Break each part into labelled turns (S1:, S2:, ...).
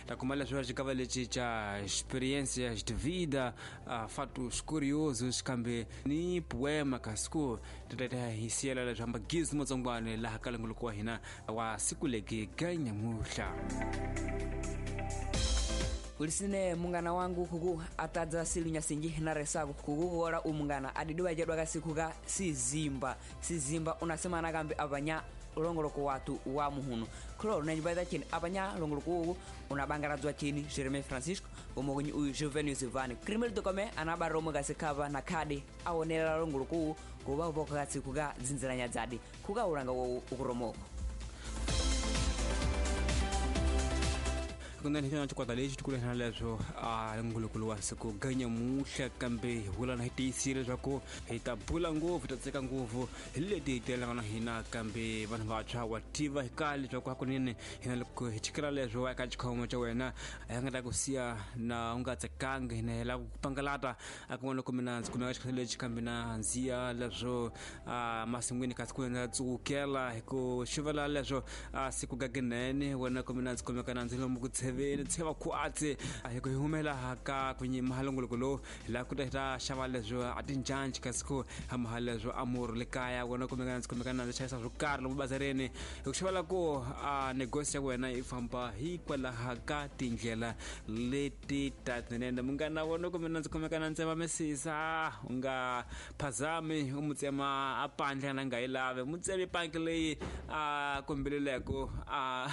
S1: Ta kuma leswo xikava lexi xa experiências de vida, fatos curiosos kambe ni poema kasi ku ti ta hi siyela leswi hamba gizi motsongwane laha ka longoloko wa hina wa siku legi ga nyamuhla.
S2: Ulisine mungana wangu kuku atadza silu nyasinji na resaku kukukola umungana adidiwa chedwa kasiku ka sizimba sizimba unasema nakambi apanya longoloko watu wa muhunu khulolo nanyipaita chini apanya longoloko uku unabangaradzwa chini Jeremy Francisco umokunyi uyu Juvenil Zivani Krimel Dokome anabara omwe kasikhapa na khadi aonera longoloko uku kuba upoka kasiku ka dzinziranya dzadi kukaulanga wowu ukuromoko.
S1: Kunani hina chikwata lexi tikulehana leswo a ngulukulu wa siku ganyamuhla kambe hi vula na hi tiyisile leswaku hi ta bula ngopfu hi ta tseka ngopfu hi leti hi telelanga na hina kambe vanhu vantshwa wa tiva hi kale leswaku hakunene hina loko hi chikela leswo eka xikhomo xa wena a hi nga ta ku siya na u nga tsekangi hina hi lava ku pangalata a kun'wana loko mina ndzi kumeka xikhomo lexi kambe na ndziya leswo a masin'wini kasi ku ndza tsukela hi ku xivela leswo a siku gaginene wena ku mina ndzi kumeka na ndzi lomu ku tsheveni tsheva khwatsi hi ku hi humela ka ku nyima longoloko lowu hi lava ku ta hi ta xava leswo a tinjanji kasi ku hamaha leswo a murhu le kaya wena kumeka ndzi kumeka na ndzi xavisa swo karhi lomu bazareni hi ku xavela ku a negosi ya wena yi famba hikwalaha ka tindlela leti ta tinene munghana wena kumbe na ndzi kumeka na ntsema misisa u nga phazami u mu tsema a pandla na nga yi lavi mu tsemi panki leyi a kombeleleko a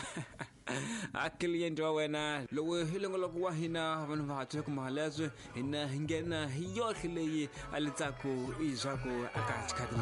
S1: a client wa wena lowu hi longoloko wa hina vanhu vantshwa kuma leswi hina hi nghena hi yohle leyi a letsaku i swaku aka xikhathi.